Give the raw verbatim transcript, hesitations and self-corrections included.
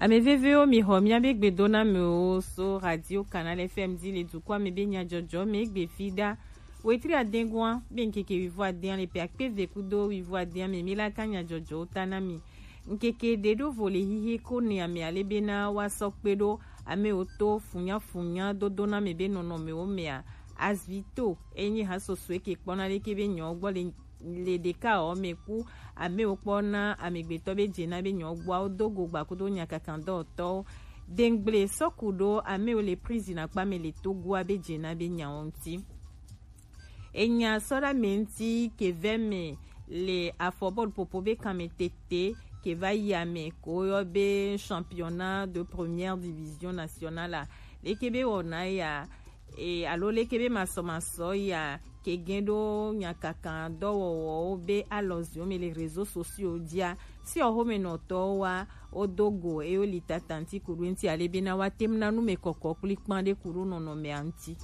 Ame vevewo, mi xɔ miabe gbedonamewo so Radio Canal F M di le dukɔa me be nyadzɔdzɔ me egbe fi ɖa. Wetri adẽgoa be ŋkeke wuivo adẽa le ƒe akpe eve kudo wuivo adẽa me, mi la ka nyadzɔdzɔwo ta na mi. Ŋkeke ɖe ɖo vo le hihi ko ne ame ale bena woasɔ kpe ɖo amewo to funyafunya dodoname be nɔnɔmewo mea. Azvito enye hasosoe ke kpɔna leke be nyawo gbɔ le le ɖeka ɔ me ku amewo kpɔ na amegbetɔ be dze na be nyɔgbɔawo do go gba kudo nyakakandɔtɔwo. Dengble sɔku ɖo amewo le prison akpa me le Togoa be dze na be nyawo ŋuti. Enya sɔ ɖe ame ŋuti ke vɛ me le afɔbɔlu popo be kanme tete ke va yi ame ko yɔ be championnat de première division nationale a. Leke be wɔna ya e, alo leke be masɔmasɔ ya ke gẽ ɖo nyakakan dɔwɔwɔwo be alɔziwo me le réseaux sociaux dzia, si ɔxomenɔtɔwo wa wodo go eye woli tata ŋuti ku ɖo eŋuti ale bena woate ŋu na nu me kɔkɔ kplikpan ɖe ku ɖo nɔnɔmea ŋuti.